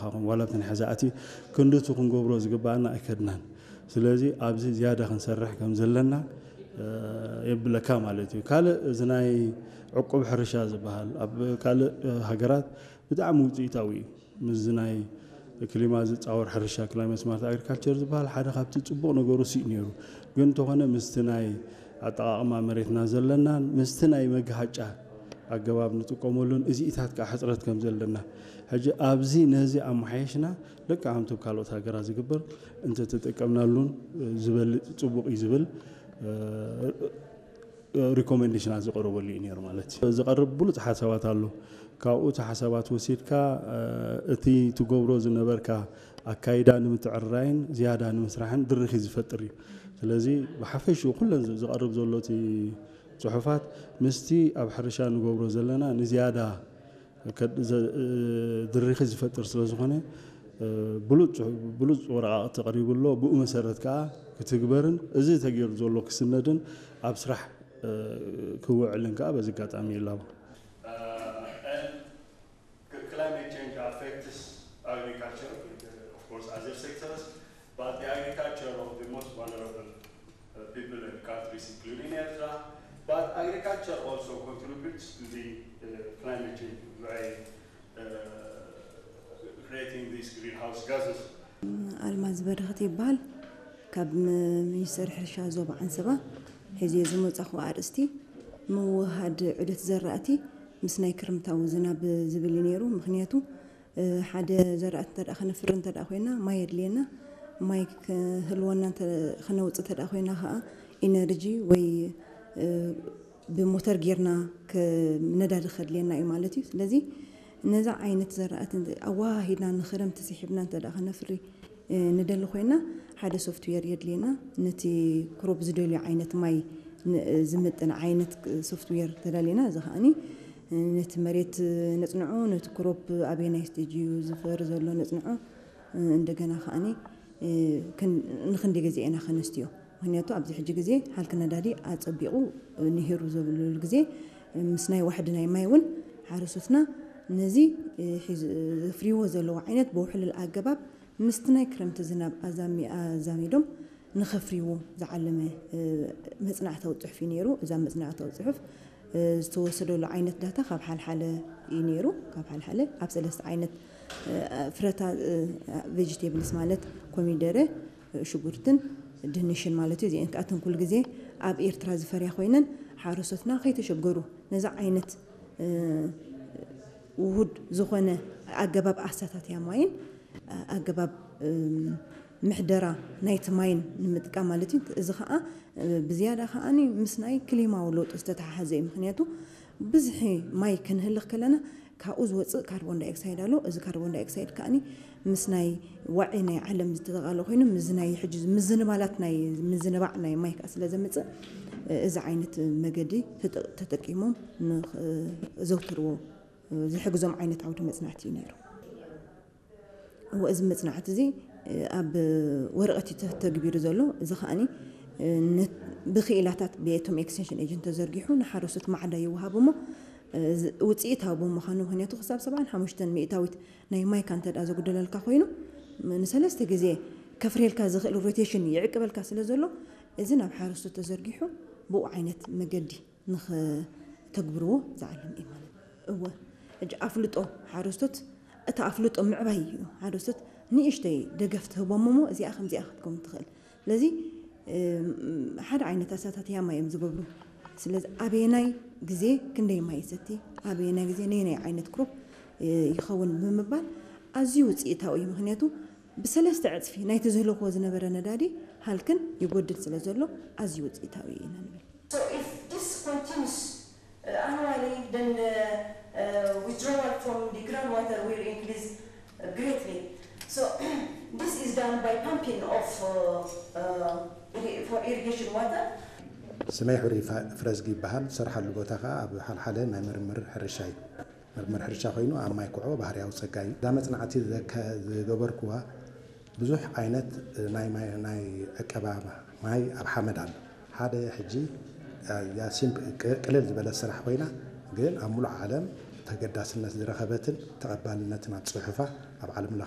ኻኹም ዋላ ብትን ሕዛእቲ ክንድቱ ክንገብሮ ዝግባኣና ኣይከድናን። ስለዚ ኣብዚ ዝያዳ ክንሰርሕ ከም ዘለና የብለካ ማለት እዩ። ካልእ እዚ ናይ ዕቁብ ሕርሻ ዝበሃል ኣብ ካልእ ሃገራት ብጣዕሚ ውፅኢታዊ እዩ። ምስዚ ናይ ክሊማ ዝፃወር ሕርሻ፣ ክላይመት ስማርት ኣግሪካልቸር ዝበሃል ሓደ ካብቲ ፅቡቕ ነገሩ ስእ ነይሩ። ግን እንተኾነ ምስቲ ናይ ኣጠቓቕማ መሬትና ዘለናን ምስቲ ናይ መግሃጫ ኣገባብ ንጥቀመሉን እዚኢታት ከዓ ሕፅረት ከም ዘለና ሕጂ ኣብዚ ነዚ ኣመሓየሽና ልክዕ ከምቲ ካልኦት ሃገራት ዝግበር እንተተጠቀምናሉን ዝበልፅ ፅቡቕ እዩ ዝብል ሪኮሜንዴሽናት ዝቐረበሉ እዩ ነይሩ ማለት እዩ። ዝቐርብ ብሉፅ ሓሳባት ኣሎ። ካብኡ እቲ ሓሳባት ወሲድካ እቲ ትገብሮ ዝነበርካ ኣካይዳ ንምትዕርራይን ዝያዳ ንምስራሕን ድርኺ ዝፈጥር እዩ። ስለዚ ብሓፈሽኡ ኩለን ዝቐርብ ዘሎ እቲ ፅሑፋት ምስቲ ኣብ ሕርሻ ንገብሮ ዘለና ንዝያዳ ድርኺ ዝፈጥር ስለ ዝኾነ ብሉፅ ወረቓቕቲ ቀሪቡ ኣሎ። ብኡ መሰረት ከዓ ክትግበርን እዚ ተገይሩ ዘሎ ክስነድን ኣብ ስራሕ ክውዕልን ከዓ በዚ ኣጋጣሚ ይላቦ። Climate change affects agriculture, of course, other sectors, but the agriculture of the most vulnerable uh, people and countries, including Ertra. But agriculture also contributes to the uh, climate change by uh, creating these greenhouse gases. ኣልማዝ በረኸት ይበሃል። ካብ ሚኒስተር ሕርሻ ዞባ ዓንሰባ ሒዘ ዝመጻኹ ኣርእስቲ ምውህሃድ ዑደት ዘራእቲ ምስ ናይ ክርምታዊ ዝናብ ዝብል እዩ ነይሩ። ምኽንያቱ ሓደ ዘራእቲ እንተ ከነፍሪ እንተ ኮይና ማይ የድልየና። ማይ ክህልወና ክነውፅእ እንተ ኮይና ከዓ ኢነርጂ ወይ ብሞተር ጌርና ነዳዲ ከድልየና እዩ ማለት እዩ። ስለዚ ነዛ ዓይነት ዘራእቲ ኣወሃሂድና ንክረምቲ ስሒብና እንተ ከነፍሪ ንደሊ ኮይና ሓደ ሶፍትዌር የድልየና። ነቲ ክሮፕ ዝደልዮ ዓይነት ማይ ዝምጥን ዓይነት ሶፍትዌር ተዳሊና። እዚ ከዓኒ ነቲ መሬት ነፅንዖ፣ ነቲ ክሮፕ ኣበየናይ ስቴጅ እዩ ዝፈሪ ዘሎ ነፅንዖ። እንደገና ከዓኒ ንክንደይ ግዜ ኢና ከነስትዮ? ምክንያቱ ኣብዚ ሕጂ ግዜ ሃልኪ ነዳዲ ኣፀቢቑ ንሂሩ ዘብለሉ ግዜ ምስ ናይ ዋሕዲ ናይ ማይ እውን ሓረሶትና ነዚ ዘፍርይዎ ዘለዉ ዓይነት ብውሕሉል ኣገባብ ምስቲ ናይ ክረምቲ ዝናብ ኣዛሚዶም ንኸፍርይዎ ዝዓለመ መፅናዕታዊ ፅሑፍ እዩ ነይሩ። እዛ መፅናዕታዊ ፅሑፍ ዝተወሰደሉ ዓይነት ዳታ ካብ ሓልሓለ እዩ ነይሩ። ካብ ሓልሓለ ኣብ ሰለስተ ዓይነት ፍረታ ቬጅቴብልስ ማለት ኮሚደረ፣ ሽጉርትን ድንሽን ማለት እዩ። እዚአን ከኣተን ኩሉ ግዜ ኣብ ኤርትራ ዝፈርያ ኮይነን ሓረስቶትና ከይተሸገሩ ነዚ ዓይነት ውሁድ ዝኾነ ኣገባብ ኣሳታትያ ማይን ኣገባብ ምሕደራ ናይቲ ማይን ንምጥቃም ማለት እዩ። እዚ ከዓ ብዝያዳ ከዓኒ ምስ ናይ ክሊማዊ ለውጢ ዝተተሓሓዘ እዩ። ምክንያቱ ብዝሒ ማይ ክንህልኽ ከለና ካብኡ ዝወፅእ ካርቦን ዳይኦክሳይድ ኣሎ። እዚ ካርቦን ዳይኦክሳይድ ከዓኒ ምስ ናይ ዋዒ ናይ ዓለም ዝተጠቓለ ኮይኑ ምስ ናይ ሕጂ ምዝንባላት ናይ ምዝንባዕ ናይ ማይ ከዓ ስለ ዘምፅእ እዚ ዓይነት መገዲ ተጠቂሞም ዘውትርዎ ዝሕግዞም ዓይነት ዓውዲ መፅናዕቲ እዩ ነይሩ። እወ እዚ መፅናዕቲ እዚ ኣብ ወረቐት እዩ ተተግቢሩ ዘሎ። እዚ ከዓኒ ብክኢላታት ቤቶም ኤክስቴንሽን ኤጀንት ተዘርጊሑ ንሓረስቶት ማዕዳ ይወሃብ እሞ ውፅኢታዊ ብምዃኑ ምክንያቱ ክሳብ ሰብዓን ሓሙሽተን ሚእታዊት ናይ ማይካ እንተ ደኣ ዘጉደለልካ ኮይኑ ንሰለስተ ግዜ ከፍርየልካ ዝኽእል ሮቴሽን ይዕቅበልካ ስለ ዘሎ እዚ ናብ ሓረስቶት ተዘርጊሑ ብኡ ዓይነት መገዲ ንኽተግብርዎ ዝዓለም እዩ ማለት እዩ። እወ ሕጂ ኣፍልጦ ሓረስቶት እቲ ኣፍልጦ ምዕባይ እዩ። ሓረስቶት ንእሽተይ ደገፍ ትህቦም እሞ እዚኣ ከምዚኣ ክትከውን ትኽእል። ስለዚ ሓደ ዓይነት ኣሳታትያ ማይ እዮም ዝገብሩ። ስለዚ ኣበየናይ ግዜ ክንደይ ማይ ይሰቲ፣ ኣበየናይ ግዜ ነየናይ ዓይነት ክሮፕ ይኸውን ብምባል ኣዝዩ ውፅኢታዊ እዩ። ምክንያቱ ብሰለስተ ዕፅፊ ናይቲ ዝህለኽዎ ዝነበረ ነዳዲ ሃልክን ይጎድል ስለ ዘሎ ኣዝዩ ውፅኢታዊ እዩ ኢና ንብል። So if this continues uh, annually, then the uh, withdrawal from the groundwater will increase uh, greatly. So this is done by pumping of uh, uh, irri- for irrigation water. ስመይ ሕሩይ ፋ- ፍረዝጊ ይበሃል። ዝሰርሓሉ ቦታ ከዓ ኣብ ሓልሓለ ናይ ምርምር ሕርሻ እዩ። ምርምር ሕርሻ ኮይኑ ኣብ ማይ ኩዖ ባህርያዊ ፀጋ እዩ። እዛ መፅናዕቲ ዘከ- ዝገበርኩዋ ብዙሕ ዓይነት ናይ ማይ ናይ ዕቀባ ማይ ኣብ ሓመድ ኣሎ። ሓደ ሕጂ እዛ ሲምፕ- ቅ- ቅልል ዝበለት ስራሕ ኮይና ግን ኣብ ሙሉእ ዓለም ተገዳስነት ዝረኸበትን ተቐባልነትን ኣብ ፅሑፋ ኣብ ዓለም ለኸ